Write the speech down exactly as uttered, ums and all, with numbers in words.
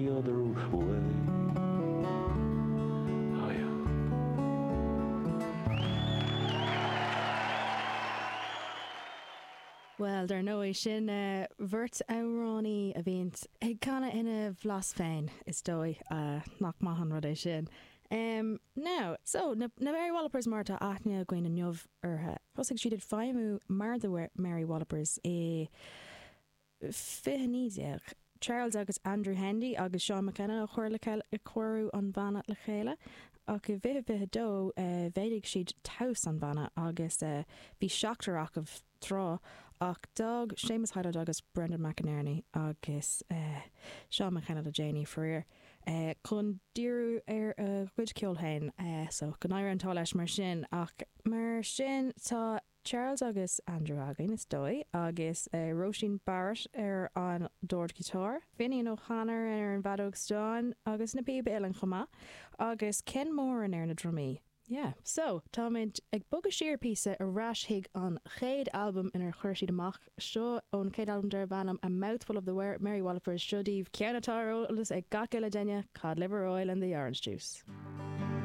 other way. Oh yeah. Well, dar ndóigh sin beirt amhránaí a bhíonn ag canadh ina bhlas féin is dóigh nach maith an rud é sin. Um, now, so na, na Mary Wallopers mar atá aithne againn inniu orthu. Thosaigh siad ag feidhmiú mar the Mary Wallopers i fiche naoi déag. Charles agus Andrew Hendy agus Sean McKenna a chuir le cóiriú an bhanna le chéile, ach i bhfiche fiche dó mhéadaigh siad tomhas an bhanna agus bhí seachtar acu tráth, ach d'fhág Séamus Hyland agus Brendan McInerney agus Sean McKenna le déanaí, faraor, chun díriú ar a gcuid ceoil féin. So go n-éirí an t-ádh leis mar sin. Ach mar sin tá Charles agus Andrew againn, is dóigh, agus Róisín Barrett ar an dordghiotár, Finian O'Connor ar an bhfeadóg stáin agus na píob uilleann chomh maith, agus Ken Moran ar na drumaí. Yeah. So, táimid ag bogadh siar píosa ar ais chuig an chéad albam inar chuir siad amach, seo ón chéad albam darb ainm A Mouthful of the Merry Wallopers, seo daoibh ceann atá ar eolas ag gach uile duine, Cod Liver Oil and the Orange Juice.